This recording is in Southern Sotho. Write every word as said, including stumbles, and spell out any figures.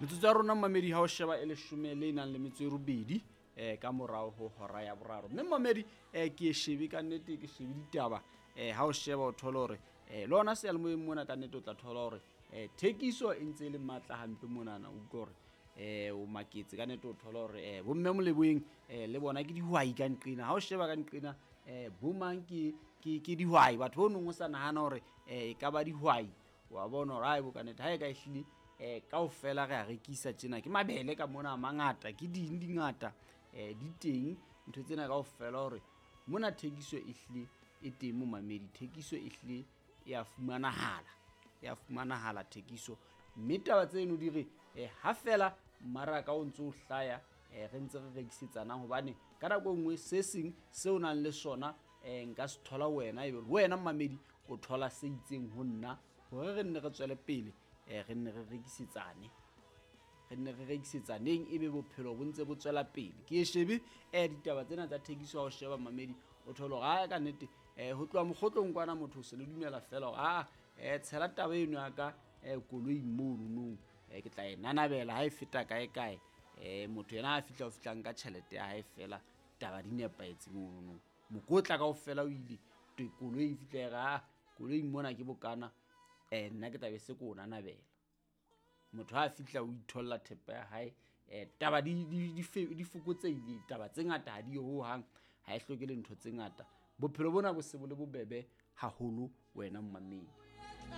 Metsotso ya rona mmamedi ha o sheba e leshome le nang le metso e robedi eh ka morao ho hora ya boraro. Mme mmamedi eh ke e shebe ka nnete, ke shebe ditaba eh ha o sheba o thola hore eh le hona seyalemoyeng mona ka nnete o tla thola hore eh thekiso e ntse e le matla hampe monana. O utlwa hore eh o maketse ka nnete, o thola hore eh bomme Moleboeng eh le bona ke dihwai ka nqena. Ha o sheba ka nqena eh bomang ke ke ke dihwai, batho bo nong o sa nahana hore eh e ka ba dihwai, wa bona hore hae bo ka nnete ha e ka ehlile eh kaofela re a rekisa tjena, ke mabele ka mona a mangata, ke ding di ngata eh di teng ntho tsena kaofela hore mona thekiso e hlile e teng momamedi, thekiso e hlile e a fumanahala, e a fumanahala thekiso. Mme taba tseno di re eh ha fela mmaraka o ntso o hlaya eh re ntse re rekisetsanang, hobane ka nako e nngwe se seng seo nang le sona eh nka se thola wena, ebe wena mmamedi o thola se itseng ho nna hore re nne re tswele pele eh re nne re rekisetsane, re nne re rekisetsaneng, ebe bophelo bo ntse bo tswela pele. Ke e shebe eh ditaba tsena tsa thekiso ha o sheba mmamedi o thole hore ha ka nnete eh ho tloha mokgotlong kwana motho o se le dumela fela hore ah eh tshela taba eno ya ka eh koloing mono nong eh ke tla e nanabela ha e feta kae kae. Eh motho yena a fihla o fihla nka tjhelete ya hae fela, taba di nepahetse mono nong, mokotla kaofela o ile koloi e fihla e re ah koloing mona ke bokana eh nna ke tla be se ko o nanabela. Motho ha fihla o itholla thepa ya hae eh taba di di di fokotsehile, taba tse ngata ha di ho hang, ha e hloke le ntho tse ngata. Bophelo bona bo se bo le bobebe haholo wena mmamedi.